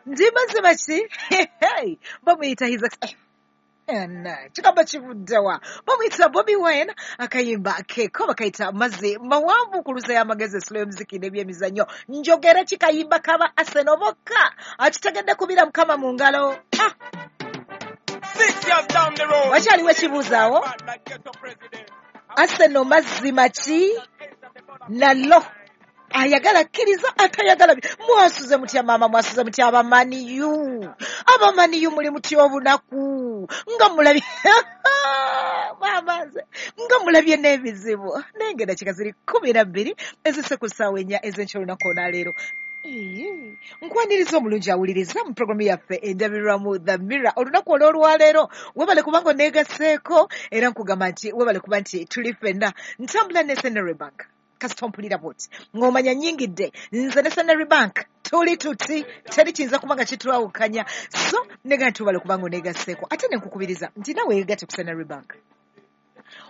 Ndi mazima ki? Bamuyita his kigambo kivuddewa? Bamuyita Bobi Wine, akayimba keko bakayita Mazzi Mawanvu ku lusa y'amagezi, esula y'omuziki n'ebyemizannyo. Njogere kikayimba kaba Arsenal bokka akitegedde kubira Mukama mu ngalo. Ah! Wakyaliwo ekibuuzaawo? Arsenal mazima ki nalo ayagala kkiriza atayagala. Mwasuze mutya maama? Mwasuze mutya abamaniyu? Abamaniyu muli mutya obunaku? Nga mulabye maama, nze nga mulabye n'ebizibu, naye nga eddakiika ziri 12 ezise ku ssaawa 4 ez'enkya olunaku olwaleero. Nkwaniriza omulungi awuliriza mu programu yaffe endabirwamu, The Mirror, olunaku olw'olwaleero. Webale kubanga oneegaseeko, era nkugamba nti webale kuba nti tuli ffenna. Ntambula ne Centenary Bank. Kasita ompulira bwoti ng'omanya nnyingidde nze ne Centenary Bank, tuli tuti teri kiyinza kuba nga kitwawukanya. So nega nti webale kubanga oneegaseeko, ate ne nkukubiriza nti nawe weegatte ku Centenary Bank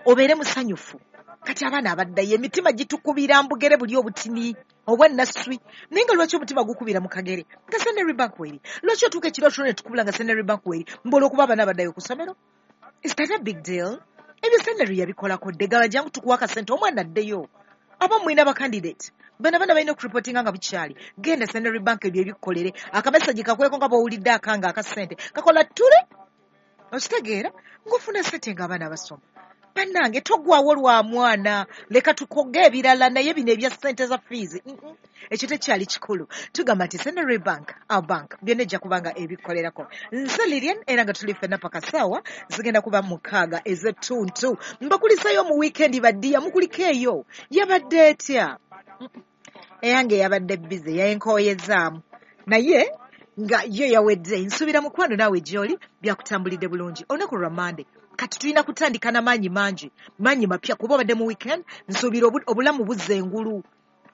obeere musanyufu. Kati abaana abaddayo, emitima gitukubira mbugere buli obutini obwannaswi, naye nga lwaki omutima gukubira mu kagere nga Centenary Bank weeri? Lwaki otuuka ekiro tulo ne tukubula nga Centenary Bank weeri? Mbu olw'okuba abaana abaddayo ku ssomero? Is that a big deal? Ebyo Centenary yabikolako dde. Gaba jangu tukuwa akasente omwana addeyo. Aba mulina bakandidate bano, abaana balina okureportinga nga bukyali. Genda Centenary Bank ebyo ebikkolere. Akamesaji kakweko nga bw'owulidde akanga akasente kakola ttule, okitegeera ng'ofuna sente ng'abaana basoma. Bannange, togwawo lwa mwana. Leka tukoge ebirala, naye bino ebya ssente za fiizi, ekyo tekyali kikulu. Tugamba nti Centenary Bank, our bank, byonna ejja kuba nga ebikolerako. Nze Lilian, era nga tuli ffenna paka saawa zigenda kuba 6 ez'ettuntu. Mbakulisayo mu wiikendi baddiya, mukuliko eyo yabadde etya? Eyange yabadde busy, yayenkooyezaamu, naye nga yo yawedde. Nsuubira mukwano naawe gy'oli byakutambulidde bulungi. Olunaku lwa Mande kati tulina kutandika n'amaanyi mangi, maanyi mapya, kuba obadde mu weekend. Nsuubira obulamu buzza engulu,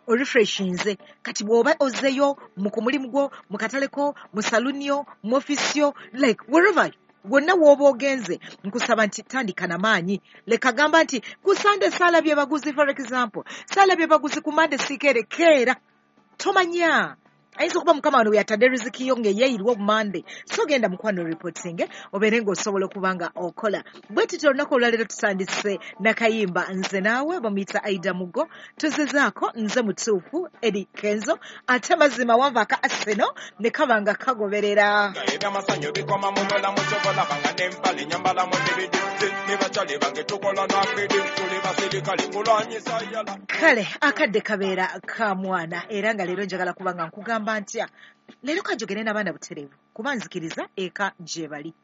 orefreshinze. Kati bw'oba ozzeyo mu ku mulimu gwo, mu kataleko, mu saluniyo, mu ofisi yo, like wherever wonna w'oba ogenze, nkusaba nti tandika na maanyi. Leka gamba nti ku Sande saalabye baguzi, for example, saalabye baguzi, ku Mande siikeere. Keera, tomanya ayinza okuba Mukama wano weyatadde riziki yo ng'eyeeyirwa obumande. So genda mukwano reporting, obeere ng'osobola okuba nga okola bwe tutyo. Olunaku olwaleero tutandise nakayimba Nze Naawe, bamuyita Aida Mugo. Tuzizaako nze mutuufu Edi Kenzo, ate mazima wanva aka Arsenal ne kaba nga kagoberera. Ebyamasanyu bikoma mu bulamu, kyobalaba nga n'empale nyambala mu dibidi ne bakyali bange tukola nakidi, tuli basirikale kulwanyisa yala. Kale akadde kabeera ka mwana, era nga leero njagala kuba nga nkugamba ntya, leero kanjogere n'abaana butereevu, kuba nzikiriza eka gye bali.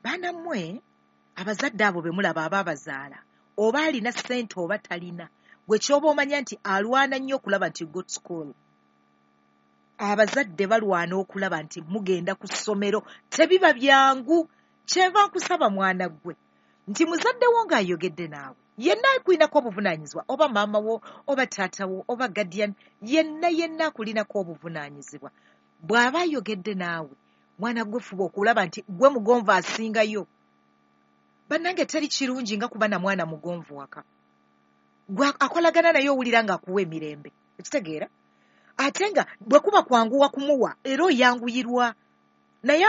Baana mmwe, abazadde abo be mulaba abaabazaala, oba alina ssente oba talina, gwe kyoba omanya nti alwana nnyo okulaba nti go to school. Abazadde balwana okulaba nti mugenda ku ssomero, tebiba byangu. Kyenva nkusaba mwana ggwe nti muzadde wo ng'ayogedde naawe, yenna akulinako obuvunaanyizibwa, oba maama wo oba taata wo oba guardian, yenna yenna akulinako obuvunaanyizibwa, bw'aba ayogedde naawe, mwana gwe fuba okulaba nti gwe mugonvu asingayo. Bannange, teri kirungi nga kuba na mwana mugonvu waka, gwe akolagana naye owulira ng'akuwa emirembe, ekitegeera, ate nga bwe kuba kwanguwa kumuwa era oyanguyirwa naye.